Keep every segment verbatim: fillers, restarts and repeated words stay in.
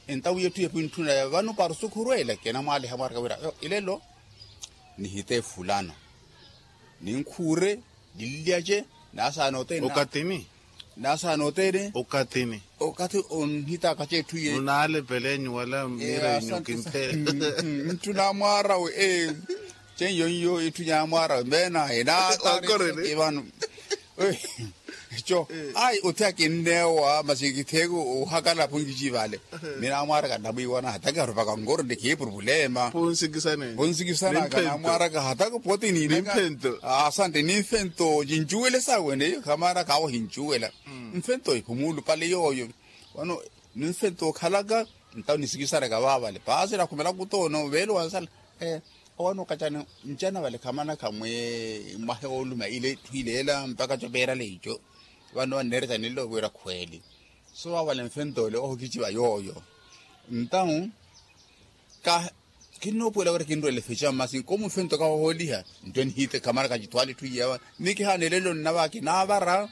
Entawi etthu yeepu entthuna vano para osukhurwela kinamwaaliha mwaraka wira ilelo nihite fulano ninkhuure nillyace nasaana oteene. Okatini. Nasaana oteene. Okatini. Okathi onhitaka cetthu ye. Nunaalepele nyuwala mmiira enyu kimphe. Ntthuna mwaarawe. Ceiyo nyo itthu nyamwaarawe meena enaatareeke vano. Eco ayi othi akinneewa masi kitheeke ohakala aphunkici vale. Mina amwaraka namwiiwana hataka arupaka nkoro ni khiipuru pulema. Ponsikisanaka namwaraka hataka poti niinaka. Asante ni mfento cincuwele sawe neyo khamana khawo hincuwela. Mfento iphumulu pale yooyo. Wano ni mfento okhalaka ntawo nisikisanaka vaavale paasi nakhumelaka kutoono veelo wansala. Owo anookacani ncana vale khamanakha mwe mwahe wooluma ile etthu ileela mpakha copeerale ico. Vano vanneerya canilo wira khweeli. So vavale mfentole ohokiciva yooyo. Ntawu ka kinnoopuwela wira kinrwele feca masi nkomu mfento kahohooliha. Nto nihite khamanakha cithwaala etthu iyawa ni kihaana elelo nnava kinaavara.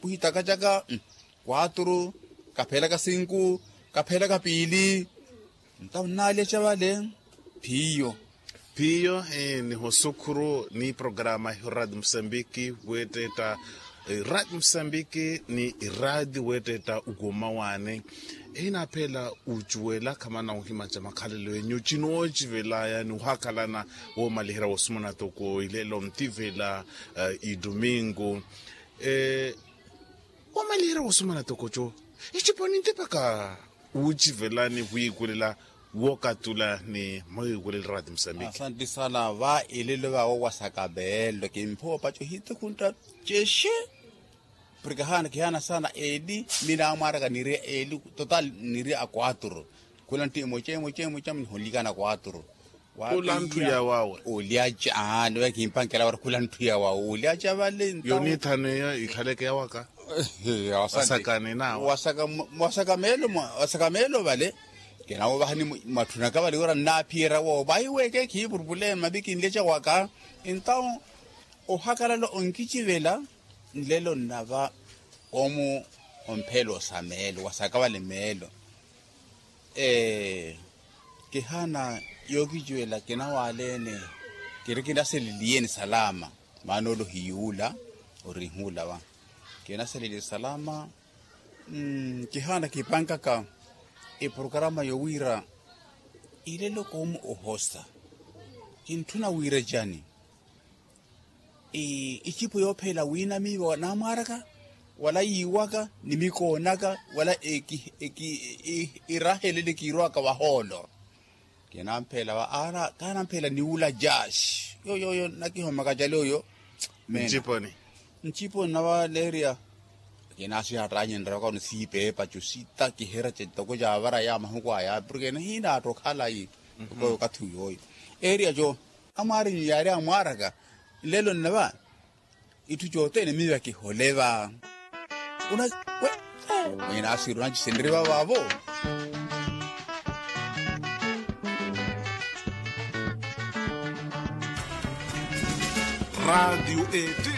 Kuhitakacaka kwaturu kapheelaka sinku kapheelaka piili. Ntawo nnaalyaca vale. Phiyo. Phiyo. Nihosukhuru ni programa ehu radio musambiki weettetta radio musambiki ni radio weettetta ukuuma waani. Ehinaaphela ucuwela khamana ohimaca makhalelo enyu cinooci velaya ni ohakhalana woomaliherya woosumuna toko ilelo ntivela idumingu. Wamaliherya woosumana toko co ecipo nintipaka wuucivelani wiikulela wookatula ni mwiikulela rati musambiki. Asanti sana va elelo vaawo wasaka meelo kimphopa co hitukhuntta ceshe. Porke haana kihaana sana eli mina amwaraka niiri eli total niiri a kwaturu. Khula ntthu emoca emoca emoca mniholikana kwaturu. Khula ntthu ya wawe. Olyaca aani oyo kimpankela wari khula ntthu ya wawe olyaca vale. Yo niithano eyo ikhaleke ya waka. Wasaka meelo vale. Kinawo vahani mwatthunaka vale wira nnaaphiyerya woowo vahiweke khiipurupule mavi kinlyaca waka. Entawo ohakalala onkicivela nlelo nnava omu omphelo sa meelo wasaka vale meelo. Kihaana yookiciwela kinawaleene. Kiri kinaseleliye ni salama maana ole ohiyuula. Orihuula va kinaseleliye salama. Kihaana kipankaka eprokarama yowiira ilelo koomu ohosa. Kintthuna wiira cani? Icipo yoopheela wiinamiiwa namwaaraka wala yiiwaka ni mikoonaka wala irahelele kiirwaka vahoolo. Kinampheela va aana kaanampheela niwula jaasi yoyoyo nakihomaka cali oyo. Nciponi nciponi navaleerya. Kinaasihattanye nrewaka onisiipeepa co sitakiherya cetoko caavara ya mahuku aya porke nihiinaatta okhalayi. Okathi uyooyo eerya co amwaarinyu yaari amwaaraka. Nlelo nnava itthu cothene miiva kihole va. Mwinaasiru nacisenrye vavaavo. Raatiyo etti